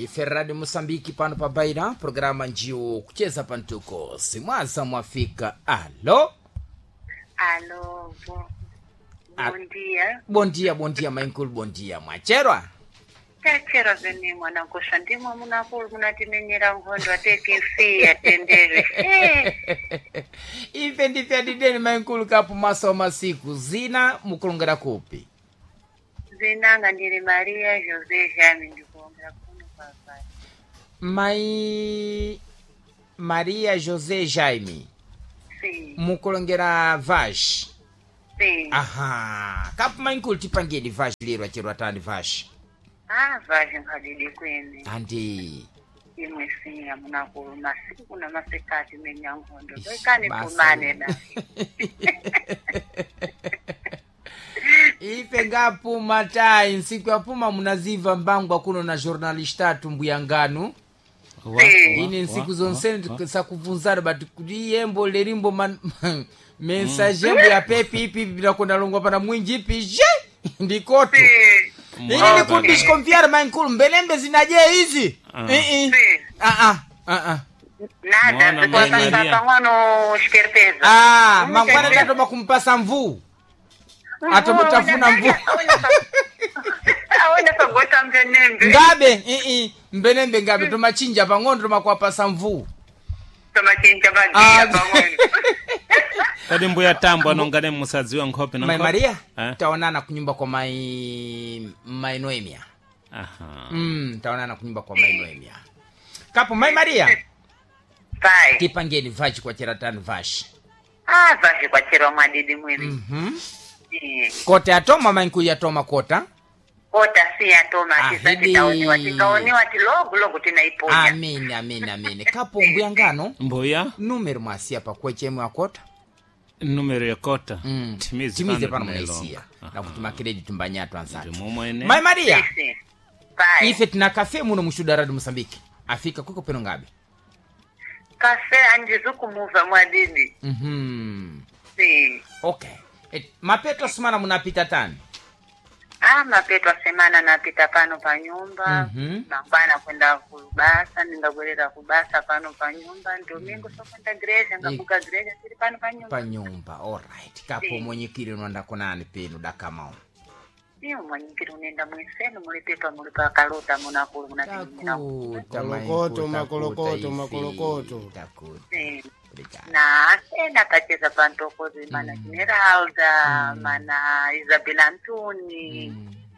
Ife Radio Mosambiki pano pa Baira, programa njiwo kucheza pantuko. Simwaza mwafika. Alo. Alô, bom, Ah. bom dia. Bom dia, bom dia, mainkulu, bom dia. Mwacherwa? Tachera vene mwana nkosha ndimwe munakulu munatimenyera nkhondo atekifiya tendere. Eh, Ife ndife adideni mainkulu kapu maso masiku zina mukulongera kupi. zinanga ndili Maria José Jame ndikuongera kuno papai. Mai Maria José Jaime Sim, mukulongera vash. sim. Aha, kapu mainkulu tipangeni vash lero acherwa tani vash. Ah, vaje nkadidi kwene. Andi. Imwe siya munakulu masiku na masikati menya nkhondo. Ish, Toikani basa. pumane na. Ife ngapuma tai nsiku ya puma munaziva mbangwa kuno na jornalista tumbuyanganu ine nsiku zonse sakubvunzana but kuti yembo lerimbo man, mensage yembo ya pepi ipi binakonda pana mwinji ipi je ndikoto Sim, ini nikundishikomvyara mainkulu mbelembe zinaje hizi Eh, eh. sim. Ah, ah, ah, ah. Nada, Mwana, Mãe zikuwapasa Maria. pang'ono esperteza. Ah, mangwana tatoma kumpasa mvuu atomutafuna mvuu Awona pagota mbenembe. ngabe ii mbenembe ngabe tomachinja pang'ono tomakuwapasa mvuu Tomachinja Ah. bagia pang'ono. Kodi mbuya tambo anongane musadziwa nkhope na mai nkhope? maria Eh? taonana kunyumba kwa mai mai noemia Aha. Taonana kunyumba kwa mai noemia kapo mai maria Pai. tipangeni vachi kwa cheratani vashi Ah, vaje kwachera mwadidi mwene. mm-hmm. Eh, kota yatoma mainkulu yatoma kota Kota si yatoma Ahidi. tisati taoniwa tikaoniwa tilogu logu tinaiponya. amini amini amini kapo mbuyangano Mbuya numero mwasiya pakwechemwe akota numero ya kota. mm. Timize timize pano tunailonga. munaisiya Aha. nakuti makireji tumbanyatu anzatu Ndimo mwene. mai maria Sim. Pai. ife tina kafe muno mushuda radio mosambiki afika kwiko peno ngabe Kafe andizukumuva mwadidi. mm-hmm. Sim. okay Et, mapeto sumana munapita tani Ah, mapeto asemana napita pano pa nyumba. Mhm. Mangwana kwenda kubasa, ningabwerera kubasa pano pa nyumba. Domingo sokwenda greja, ngabuka greja tiri pano pa nyumba. pa nyumba alright kapo Si. mwenyikiri unonda kunani penu dakamao Iyo mwanyikiri unenda mwensenu muli pepa muli pa kalota munakulu munatinyira. takuta Makolokoto, makolokoto, makolokoto. takuta Sim. obrigado Na ena kacheza pantokozi mana Esmeralda, mana Isabela Antoni,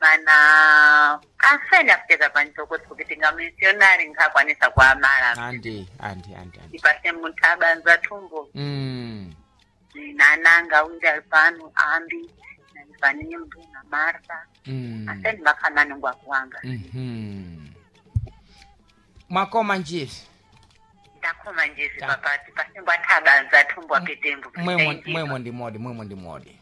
mana asene akucheza pantokozi kuti tinga missionary nkakwanisa kuamala. andi andi andi andi Ipase munthu abanza thumbo nananga unje ali pano ambi nanifanimbu na Martha asene makhamani ngwakuwanga. Mwakoma njiri Ndakhoma njezi Ta. papati pasimbo athabanza thumbo apetembo. mwemo ndi modi mwemo ndi modi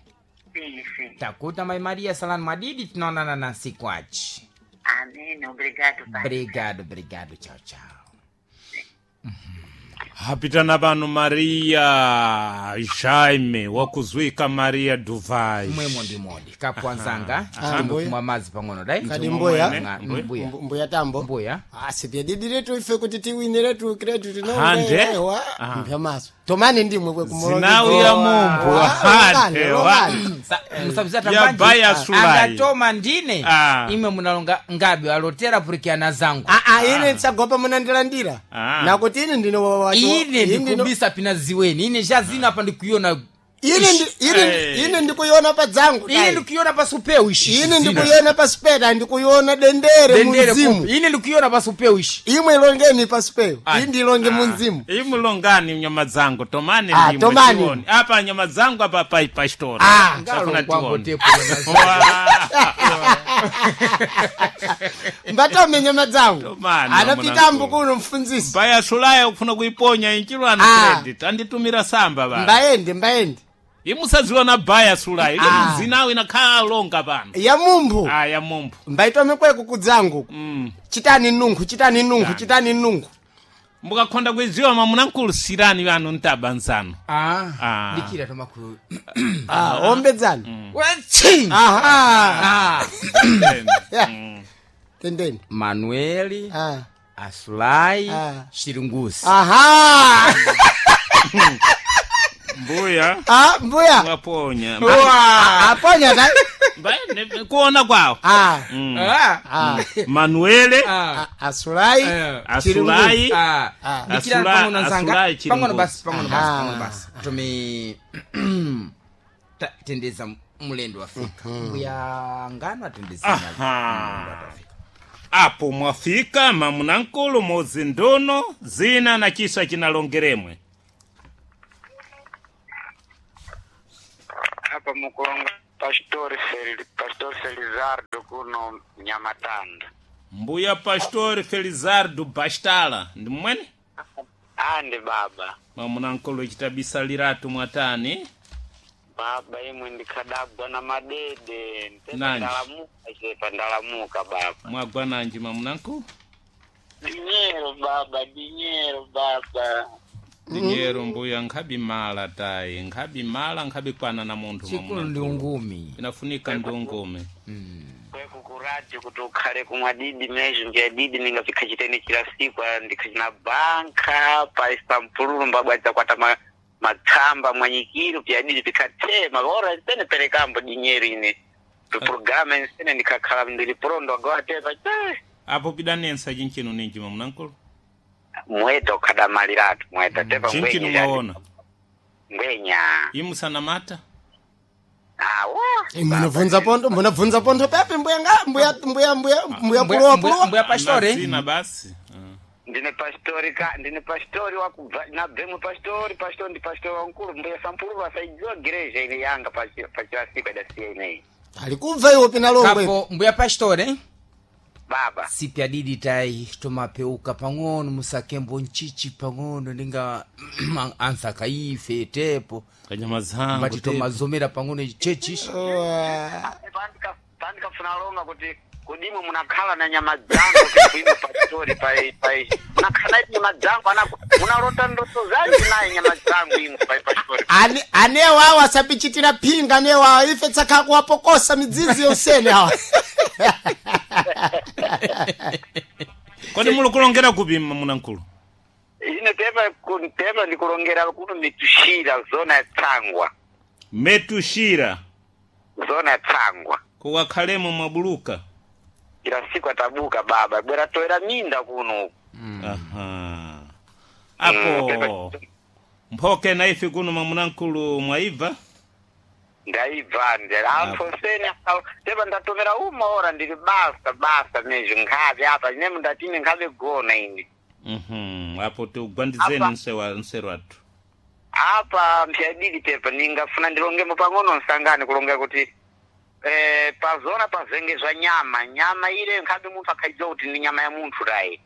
Sim, sim. takuta mai maria salani madidi tinaonana na nsiku achi Amém. Obrigado, pai. obrigado obrigado chao chao Hapitana pano Maria Jaime wakuzwika Maria Duvai. mwemo ndi modi kapwanzanga Aha. timukumwa madzi pang'ono dai Kadi mbuya. Nga- mbuya Mbuya tambo. mbuya Ah, sipyadidiretu ife kuti tiwiniretu kiretu Hande. tinoewa Ah. mpyamaso. Tomani ndimwe kwe Zinawu ya mumbu. Hande wa. Musabisa Ya baya sulai. angatoma ndine Ah. imwe munalonga ngabe alotera purikiana zangu Ah, ah, ine tsagopa munandilandira. Ah. Nakuti ine ndino wa ine ndikubisa pina ziweni ine zhazina apa ndikuiona Ine ndi- ine Eh. ine ndikuiona pa dzangu. ine dai. ndikuiona pasupeu ishi Ine ndikuiona pa speta ndikuiona dendere dendere munzimu. kupi. ine ndikuiona pasupeu ishi Imwe ilongeni pa speu. Ah. Indi ilonge munzimu. Imulongani nyama dzangu tomani Ah, ndimwe tomani. tione. Apa nyama dzangu apa pa pastora. Ah. Tafuna Ngalongwambo tione. tepo Wa. Mbatome nyama dzangu. Tomani, Anapita mwanangu. kuno mfunzisi. Baya sulaya kufuna kuiponya inchilwana Ah. credit anditumira samba ba. Mbaende mbaende. Imusadziwa na baya sulaya. Ile Ah. mzinawo inakhala longa pano. Ya mumbu. Ah ya mumbu. Mbaitome kweku kudzangu. Chitani nungu, chitani nungu, chitani nungu. Mukakhonda kuidziwa mamunankulusirani vanu ntabanzano. ah Ah. ndikira tomaku Ah, ombedzani. Wachi! Aha. ah Yeah. Tendeni. Manueli Ah. Asulai Ah. Shiringusi. Aha. Mbuya Ah, mbuya. mwaponya. Wa! Aponya ta. Kuona kwawo. Ah. Ah. Ah. Manuele Ah. Asulai. Eh. Asulai Ah. Ah. Dikira pang'ono nzanga. Asulai Pang'ono Chiringusi. basi, pang'ono basi, Aha. pang'ono basi. Tumi tendeza mulendo wafika. Mbuya ngano atendeza Aha. mulendo wafika. Apo mwafika mamunankulu mozi ndono zina na chisa chinalongeremwe. Apa mukulonga Pastor Pastor Felizardo kuno Nyamatanda. Mbuya Pastor Felizardo Bastala ndi mmwene? Ande baba. Mamunankulu chitabisa liratu mwatani. Baba imwe ndikhadagwa na madede. Ntepa Nanji. ndalamuka chepa ndalamuka baba. Mwagwa nanji mamunankulu? Dinyero baba, dinyero baba. Dinyero mbuya nkhabi mala tayi nkhabi mala nkhabi kwana na munthu Chikulu ndi mamunankulu. ungumi. Inafunika ndi ungumi. Kweku kuradio kuti ukhale kumwa didi mezho nja didi ningapikha chitene chila siku ndikhachina banka paisa mpululu mbabwadza kwata matsamba mwanyikiro pya didi pikhatema ora nsene perekambo dinyero ine programa nsene ndikhakhala ndili prondo agawatepa che Apo pidanensa chinchinu ninji mamunankulu? mweta ukhadamaliratu mweta tepa Chinchinu ngwenya mwaona. ngwenya Imusanamata? awo Munabvunza pondo, munabvunza pondo pepe mbuya nga mbuya mbuya mbuya mbuya pulowa pulowa. Mbuya pastore. Zina basi. Ah. ndine pastori ka ndine pastori wakubva nabvemwe pastori pastori ndi pastori wankulu mbuya sampulu vasaidziwa gereja ine yanga pachilasiko idasiya ineyi Alikubva iwo pina longwe. Kapo mbuya pastore. baba Sipya didi tai tomapeuka pang'ono musakembo nchichi pang'ono ninga ansaka ife tepo Kanyama zangu. mbati tepo. tomazomera pang'ono chechi pandikafuna longa kuti kudimwe munakhala na nyama dzangu kuimwe pastori pai munakhala na nyama dzangu ana munalota ndoto zanji naye nyama dzangu imwe pai pastori Ane anewa awa asapichitira phinga anewa awa ife tsakhakuwapokosa midzizi yonsene awa. Kodi muli kulongera kupi mamunankulu? ine tepa tepa ndikulongera kuno mitushira zona ya tsangwa Metushira zona ya tsangwa kuwakhalemo mwabuluka. ila siku atabuka baba bwera toera minda kuno Aha. Apo mphoke na ife kuno mamunankulu mwaibva? ndaibva ndera amfoseni tepa ndatomera uma ora ndili basa basa mezho nkhabe apa ine mundatine nkhabe gona ine Mhm. Apo tiugwandizeni Apa. nsewa nseru athu. apa mphyadidi tepa ningafuna ndilongemo pang'ono nsangane kulongera kuti eh, pazona pazenge zva nyama nyama ile nkhabe munthu akhaidziwa kuti ndi nyama ya munthu tayi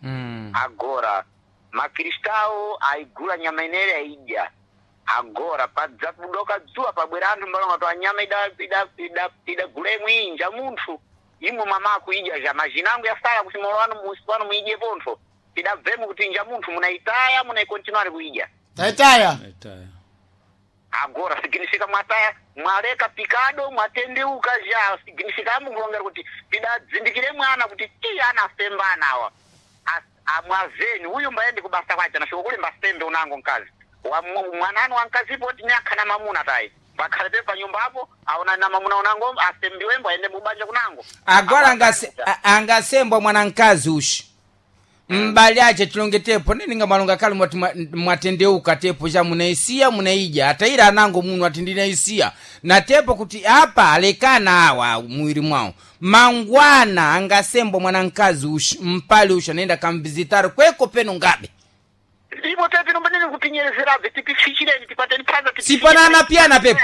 agora makristawo aigula nyama inere aidya agora padzakudoka dzuwa pabwera anthu mbalonga to anyama idagula imwe inja munthu imwe mamaku idya zha mazhina angu yasala kuti molo wanu musi wanu muidye pontho idabvemo kuti inja munthu munaitaya munaikontinuari kuidya Taitaya. Etaya. agora significa mwataya mwaleka pikado mwatendeuka zha significa amukulongera kuti tidadzindikire mwana kuti ti ana asemba anawa amwazeni uyu mbayendi kubasa kwace nafika kuli mbasembe unango mkazi mwananu wankazipo kuti ni akhana mamuna tayi pakhale pe panyumbapo aona na mamuna unango asembiwembo aende mubanja kunango agora angasembwa mwana mkazi ushi mbali ache tilonge tepo neninga malonga kale mwati mwatendeuka tepo cha munaisiya munaidya ataira anango muno ati ndinaisiya na tepo kuti apa alekana awa muwiri mwawo mangwana angasembwa mwana mkazi ushi mpali ushi anaenda kamvizitari kweko peno ngabe ipo tepi nombanene kupinyerezerazve tipifichireni tipateni phanza sipanana piyana pepo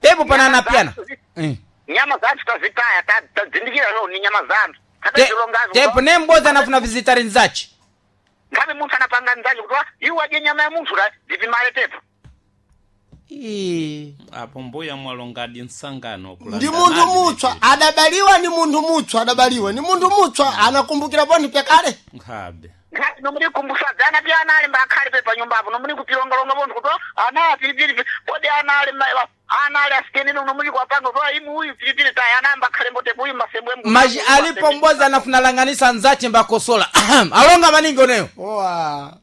pepo panana piyana Eh. nyama zanthu tazitaya tadzindikira lo ni nyama zanthu Tepo nemboza anafuna vizitari nzachi ngabe munthu anapanga nzachi kuti iwe adye nyama ya munthu la ndipimale tepo Ii. Apo mbuya mwalongadi nsangano Ndi munthu mutswa adabaliwa ni munthu mutswa adabaliwa ni munthu mutswa anakumbukira pontho pyakale. Nkhabe. Nkhabe nomuli kumbusadza ana pya ana ali mbakhale pe panyumbapo nomuli kupilongalonga pontho kuti ana pilipili podi ana ali Ana ali asikenene uno muli kwapanga kwa imu uyu pilipili tayi anamba akhale mbotepo uyu masembwe Maji alipo mboza anafunalanganisa nzache mbakosola alonga maningi oneyo Owa.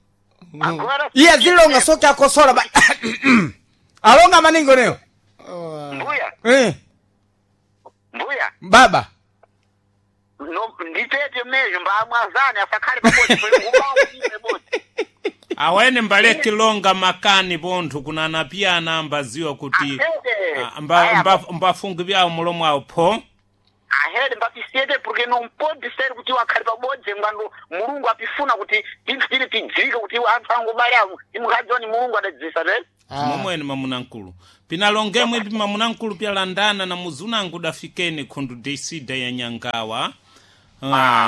Agora iye zilonga soke akosola ba alonga maningi oneyo Owa. mbuya eh, mbuya baba no nditete mezho mbamwazani asakhale pabodzi pabodzi Awene mbale kilonga makani bonthu kunana piyana ambaziwa kuti Ahede. ah, mbafungi byawo mulomo awo pho ahede mbapisiyete porque não pode ser kuti wakhale pabodzi ngwandu mulungu apifuna kuti tinthu tili tidzike kuti anthu angubale awo imukhadziwa ni mulungu adadzisa te momwene mamunankulu pinalongemwe ipi mamunankulu pyalandana na muzunangu dafikeni khundu desida ya nyangawa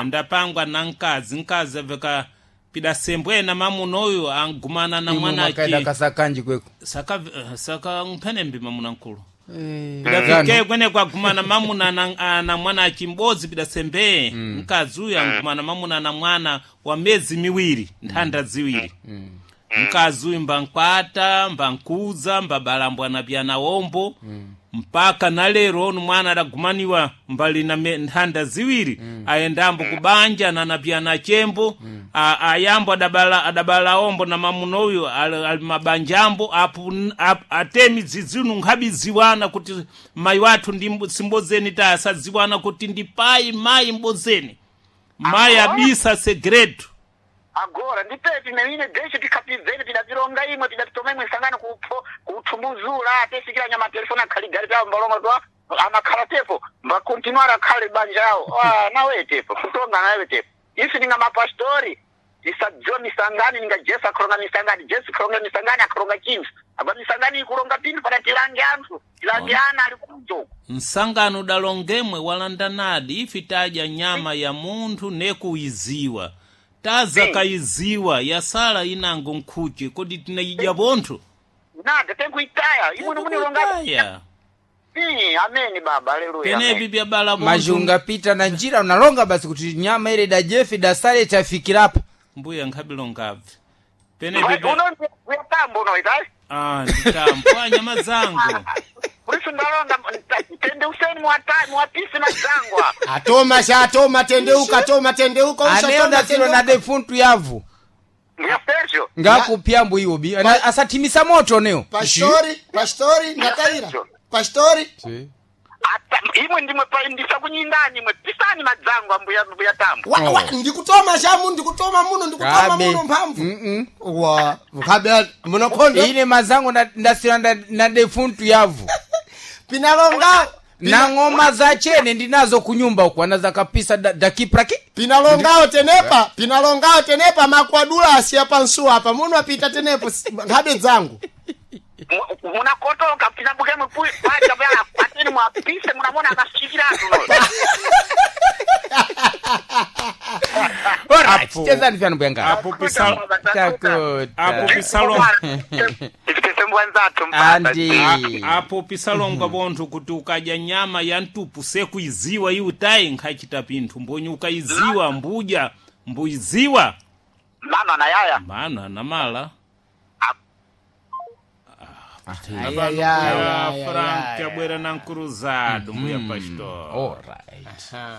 ndapangwa na nkazi nkazi aveka pidasembwena mamuna uyu angumana na makaenda mwanaki kasakanji kweko saka saka mphenembi mamunankulu Gano. pidafike kwene kwagumana mamuna na mwana achimbodzi pidasembee mkazi uyu angumana mamuna na mwana wa miyezi miwiri nthanda ziwiri mkazi uyu mbankwata mbankuza mbabalambwana pyana wombo mpaka na lero onu mwana adagumaniwa mbali na nthanda ziwiri ayendambo kubanja nanapyana chembo ayambo adabala ombo na mamuna uyu ali mabanjambo apo atemi zizinu nkhabiziwana kuti mayi wathu ndi simbozeni ta asadziwana kuti ndi payi mayi mbozeni mayi abisa segredo agora nditete neine deshe tikhapidzeni tidapironga imwe tidapitoma imwe sangano kupho kuthumbuzula atesikira nyama telefoni akhaligari tawo mbalonga twa amakhala tepo mbakontinuara akhale banja yawo ah, nawe tepo kutonga nawe tepo isi ninga mapastori tisadziwa misangani ninga jesu akholonga misangani jesu akholonga misangani akholonga chinthu apa misangani ikulonga pinthu pada tilange anthu tilange ana ali kunjoko msangano udalongemwe walandanadi ifi tadya nyama ya munthu nekuiziwa taza kayiziwa yasala inango nkhuche kodi tinayidya bonthu nada tenkuitaya imwe nomunilonga Aya. ameni baba aleluya penepi amen. byabala maji bonthu ungapita na njira unalonga basi kuti nyama ile dajefi dasale tafikirapo mbuya nkhabilongabve penepi bya- uno uyatambo uno itayi Ah, nditambwa nyama zangu Kurisu ndalonga tende useni muwapise mazangwa Atoma sha atoma tendeuka atoma tendeuka aneyo ushatoma ndasilo na tendeuka. defuntu yavu Ndiya Sergio ngakupyambo iwo bi asathimisa moto neyo Pastori, pastori, ndakaira. Pastori. Ata imwe ndimwe pa ndisakunyindani imwe pisani madzangwa mbuya mbuya tambo Wa, wa, ndikutoma shamu ndikutoma muno ndikutoma Kabe. muno mphamvu. Mm-mm. Wa, kabe munokondo. ine mazango ndasila na defuntu yavu Pinalonga. na ng'oma za chene ndinazo kunyumba uku anazakapisa dakipraki Pinalongao tenepa, pinalongao tenepa makwadula asiya pansu apa muno apita tenepo nkhabe dzangu. Munakotoka pinabuke mwe paja pya ateni mwapise munamona akashikiratu Alright, chezani vyanu bwanga apo pisalo Takuta. apo pisalo Tisembwa nzathu mpata Andi. apo pisalonga bonthu kuti ukadya nyama ya mtupu sekuiziwa iwe tayi nkhachita pinthu mbonyi ukaiziwa mbudya mbuiziwa Mama na yaya mana namala Ai, ai, ai, ai, Frank abwera na nkuruzado mbuya pastor Alright.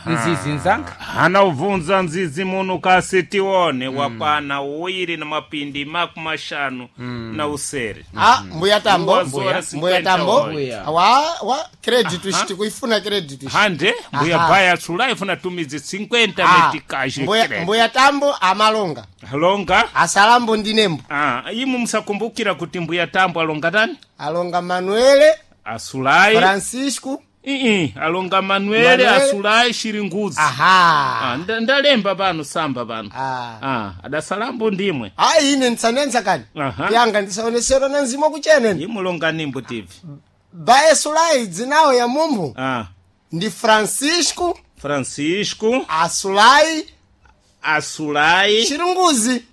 Nzizi nzanga hana ubvunza nzizi muno kasi tione wakwana uwiri na mapindi makumaxanu na usere Ah, mbuya tambo, Mbuya. mbuya tambo. Mbuya. Wa wa credit ishi tikuifuna credit ishi. hande mbuya Aha. baya sulaifu tumizi 50 Ah, metikaxi mbuya, mbuya tambo amalonga. alonga Asalambo ndinembo. ah, imu musakumbukira kuti mbuya tambo alonga tani Alonga Manuele, asulai Francisco. ii alonga manuele Manuele. asulai shiringuzi Aha. ah, ndalemba pano samba pano Ah. ah, adasalambo ndimwe Ah, ine ndisanenza kani. Aha. Yanga ndisaonesera na nzimo kuchenene. imulonga nimbo tv Baye Sulai dzinawo ya mumbu ah, ndi Francisco francisco Asulai asulai Chiringuzi.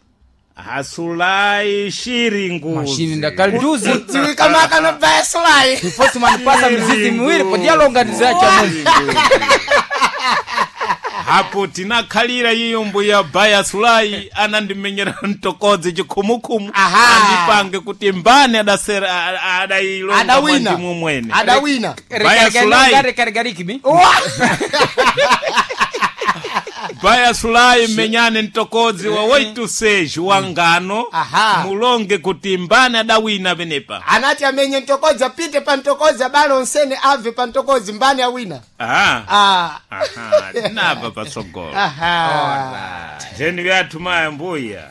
asulai shiringuzi mashini ndakalituzi Dziwika makano Baye Sulai. ifosi manipasa mizizi miwiri kodi alonga ndizacha munhu Hapo tinakhalira iyo mbuya baya sulai anandimenyera mtokodzi chikhumukhumu. Aha. Andipange kuti mbani adasera adailonga Adawina. mwandimu mwene. Adawina. Baya Sulai. Rekargarikimi. Baya sulai menyane mtokodzi wa 86 wa ngano. Aha. Mulonge kuti mbani adawina penepa. Anati amenye mtokodzi, apite pa mtokodzi, abale onsene abve pa mtokodzi, mbani awina. Aha. Ah. Aha, tinabva patsogolo. Aha. Teni vyathu maya mbuya.